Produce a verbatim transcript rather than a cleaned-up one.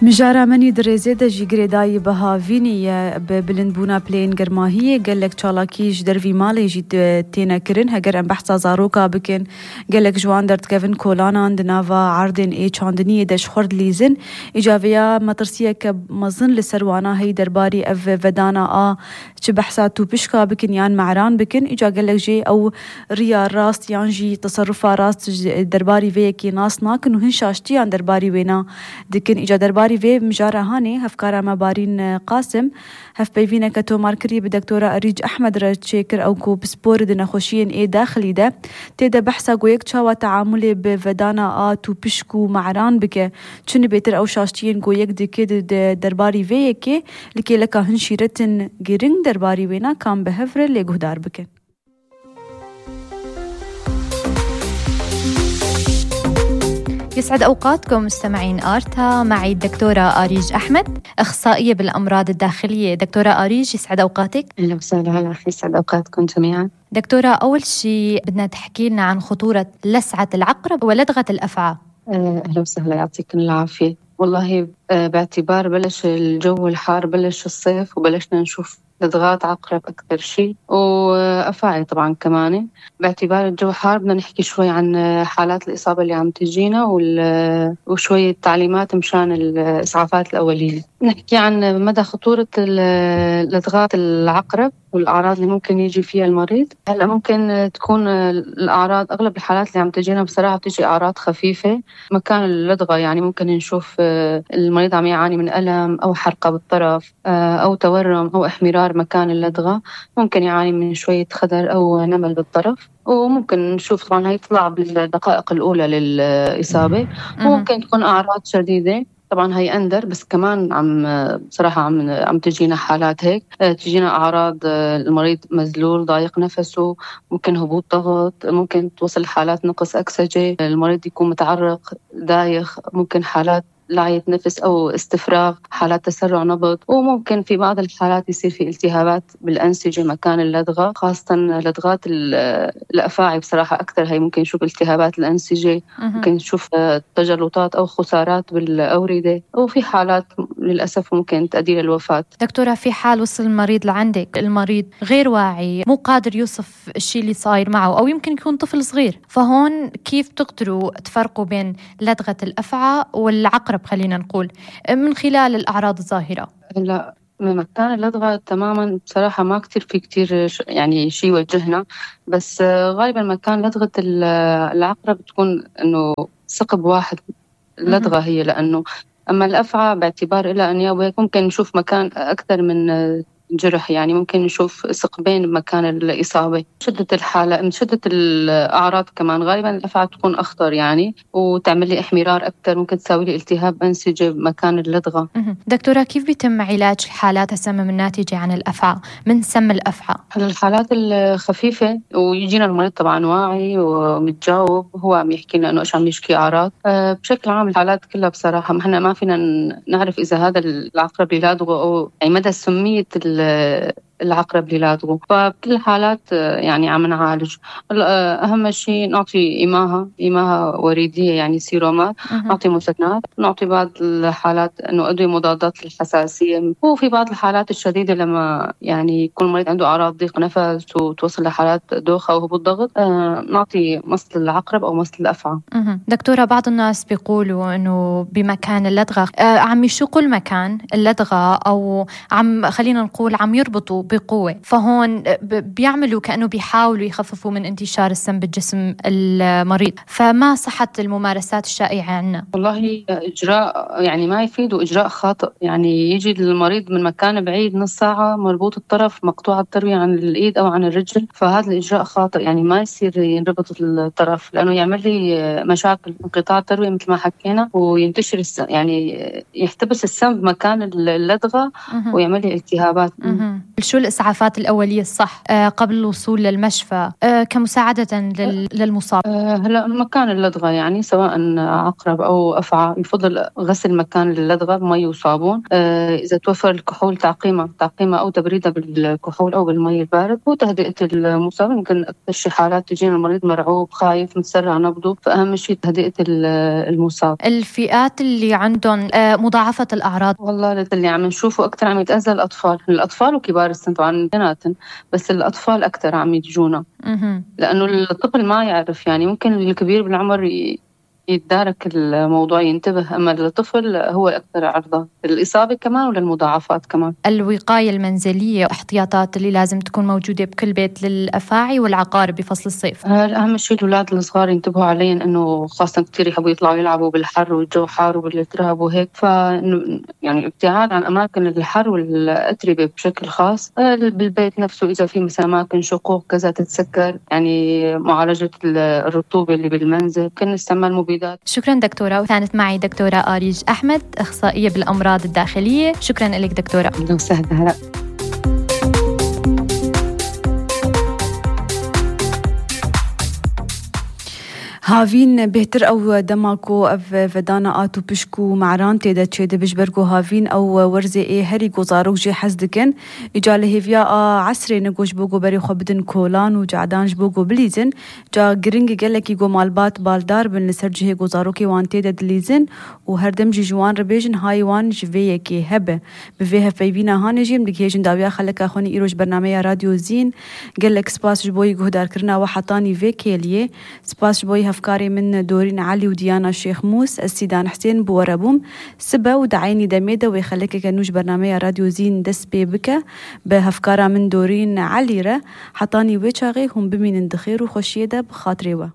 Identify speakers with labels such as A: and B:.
A: مجارة مني دريزيدا جي غريداي بها فيني بلندبونا بلين گرماهية قالك چالاكيش درفي مالي جيت تينا كرن هگر ام بحثا زاروكا بكن قالك جوان درت كيفن كولانا دنافا عردن اي چاندنية دش خورد ليزن اجابيا مطرسية كمزن لسروانا هي درباري اف ودانا اه چه بحثا تو بشكا بكن يان معران بكن اجا قالك جي او ريا راست يان جي تصرفا راست درباري ويكي ناس ناكن وهن شاشتيان درباري وينا دكن اجا درباري في مجارة هاني هفكارا مبارين قاسم هف بيفينا كتو ماركري بدكتورة أريج أحمد رجيكر أو كو بسبور دنا خوشين إيه داخلي ده تيدا بحثا قويك تشاوى تعاملي بفدانا آتو بشكو معران بك چون بيتر أو شاشتين قويك دي كد درباري فيكي لكي لكا هنشيرتن جيرين درباري وينا كان بهفر اللي قهدار بك.
B: يسعد أوقاتكم مستمعين آرتا، معي الدكتورة أريج أحمد أخصائية بالأمراض الداخلية. دكتورة أريج يسعد أوقاتك.
C: أهلا وسهلا، هلا يسعد أوقاتكم جميعا.
B: دكتورة، أول شيء بدنا تحكي لنا عن خطورة لسعة العقرب ولدغة الأفعى.
C: أهلا وسهلا، يعطيكم العافية. والله باعتبار بلش الجو الحار، بلش الصيف وبلشنا نشوف لدغات عقرب أكثر شيء وأفاعي طبعا كمان. باعتبار الجو حار بدنا نحكي شوي عن حالات الإصابة اللي عم تجينا وشوية تعليمات مشان الإسعافات الأولية. نحكي عن مدى خطورة لدغات العقرب والأعراض اللي ممكن يجي فيها المريض. هلا ممكن تكون الأعراض، أغلب الحالات اللي عم تجينا بصراحة بتجي أعراض خفيفة مكان اللدغة، يعني ممكن نشوف المريض عم يعاني من ألم أو حرقة بالطرف أو تورم أو احمرار مكان اللدغة، ممكن يعاني من شوية خدر أو نمل بالطرف، وممكن نشوف طبعا هي تطلع بالدقائق الأولى للإصابة. وممكن تكون أعراض شديدة، طبعا هي أندر، بس كمان عم بصراحة عم عم تجينا حالات هيك، تجينا أعراض المريض مزلول ضايق نفسه، ممكن هبوط ضغط، ممكن توصل حالات نقص أكسجة، المريض يكون متعرق دايخ، ممكن حالات لعية نفس أو استفراغ، حالات تسرع نبض، وممكن في بعض الحالات يصير في التهابات بالأنسجة مكان اللدغة، خاصة لدغات الأفاعي بصراحة أكثر. هي ممكن نشوف التهابات الأنسجة، ممكن نشوف تجلطات أو خسارات بالأوردة، وفي حالات للأسف ممكن تؤدي للوفاة.
B: دكتورة، في حال وصل المريض لعندك، المريض غير واعي، مو قادر يوصف الشيء اللي صاير معه، أو يمكن يكون طفل صغير، فهون كيف تقدروا تفرقوا بين لدغة الأفعى والعقرب خلينا نقول من خلال الأعراض الظاهرة؟
C: لا، مكان اللدغة تماما بصراحة ما كتير في كتير يعني شيء يوجهنا، بس غالبا مكان لدغة العقرب تكون إنه ثقب واحد اللدغة هي، لأنه أما الأفعى باعتبار إلى أنياب ممكن نشوف مكان أكثر من جرح، يعني ممكن نشوف ثقبين بمكان الإصابة. شدة الحالة من شدة الأعراض كمان غالبا الأفعى تكون أخطر يعني، وتعمل لي احمرار أكثر، ممكن تساوي لي التهاب أنسجة بمكان اللدغة.
B: دكتورة، كيف بيتم علاج حالات السمم الناتجة عن الأفعى من سم الأفعى؟
C: الحالات الخفيفة ويجينا المريض طبعا واعي ومتجاوب، هو عم يحكي لنا إنه إيش عم يشكي أعراض. أه بشكل عام الحالات كلها بصراحة ما إحنا ما فينا نعرف إذا هذا العقرب اللي لدغه أو يعني مدى سمية العقرب اللي لدغه، فبكل الحالات يعني عم نعالج. أهم شيء نعطي إماها إماها وريدية يعني سيرومات، نعطي مسكنات، نعطي بعض الحالات إنه أدوية مضادات للحساسية. وفي بعض الحالات الشديدة لما يعني يكون المريض عنده أعراض ضيق نفس وتوصل لحالات دوخة وهبوط ضغط، آه نعطي مصل العقرب أو مصل الأفعى.
B: دكتورة، بعض الناس بيقولوا إنه بمكان اللدغة آه عم يشقوا المكان اللدغة، أو عم خلينا نقول عم يربطوا بقوة، فهون بيعملوا كأنه بيحاولوا يخففوا من انتشار السم بالجسم المريض، فما صحة الممارسات الشائعة عنا؟
C: والله إجراء يعني ما يفيد، وإجراء خاطئ. يعني يجي المريض من مكان بعيد نص ساعة مربوط الطرف، مقطوع التروية عن الإيد أو عن الرجل، فهذا الإجراء خاطئ. يعني ما يصير ينربط الطرف، لأنه يعمل لي مشاكل، انقطاع التروية مثل ما حكينا، وينتشر السم، يعني يحتبس السم بمكان اللدغة ويعمل لي التهابات.
B: شو شو الإسعافات الأولية الصح آه قبل الوصول للمشفى آه كمساعدة لل... للمصاب؟
C: آه هلا مكان اللدغة يعني سواء عقرب أو أفعى يفضل غسل مكان اللدغة بمي وصابون. آه إذا توفر الكحول تعقيمة تعقيمة أو تبريدها بالكحول أو بالمي البارد وتهدئة المصاب. يمكن أكثر شي حالات تجينا المريض مرعوب خايف متسرع نبضه، فأهم شي تهدئة المصاب.
B: الفئات اللي عندهم آه مضاعفة الأعراض،
C: والله اللي عم نشوفه أكثر عم يتأذى الأطفال الأطفال وكبار السن طبعا بيناتن، بس الأطفال أكثر عم يجونا لأنه الطفل ما يعرف يعني ممكن الكبير بالعمر ي... يتدارك الموضوع ينتبه، أما الطفل هو الأكثر عرضة للإصابة كمان وللمضاعفات كمان.
B: الوقاية المنزلية واحتياطات اللي لازم تكون موجودة بكل بيت للأفاعي والعقارب بفصل الصيف.
C: أهم شيء الأولاد الصغار ينتبهوا عليهم، إنه خاصة كتير يحبوا يطلعوا يلعبوا بالحر والجو حار وبالتراب وهيك، ف يعني الابتعاد عن أماكن الحر والأتربة بشكل خاص. بالبيت نفسه إذا في مثلا أماكن شقوق كذا تتسكر، يعني معالجة الرطوبة اللي بالمنزل، كنا نستعمل مبيدات.
B: شكرا دكتورة. وكانت معي دكتورة آريج أحمد، أخصائية بالأمراض الداخلية. شكرا لك دكتورة.
C: أهلا وسهلا.
A: هافين بهتر أو دماكو أف فدانا آتو بشكو معران تيدا تشيدا بجبركو هافين أو ورزي إيه هري قوزاروك جي حزدكن إجاله هفيا عسري نقوش بوغو بري خوبدن كولان وجعدانج بوغو بليزن جا جرنج قالك يقو مالبات بالدار بن لسرجي قوزاروكي وان تيدا دليزن وهردم جي جوان ربيجن هاي وان جفيكي هبه بفيها فيبينا هانجي مدك هيجن داويا خلك أخوني إيروش برنامج راديو زين قالك سباس جبوي قهدار كرنا وحطاني فيكيليه سباس جبوي أفكاري من دورين علي وديانا الشيخ موس السيدان حسين بورابوم سبا ودعيني دميدة ويخليك كنوش برنامج راديو زين دس بيبكا بهفكارا من دورين علي را حطاني ويشاغي هم بمين اندخير وخشيدة بخاطري و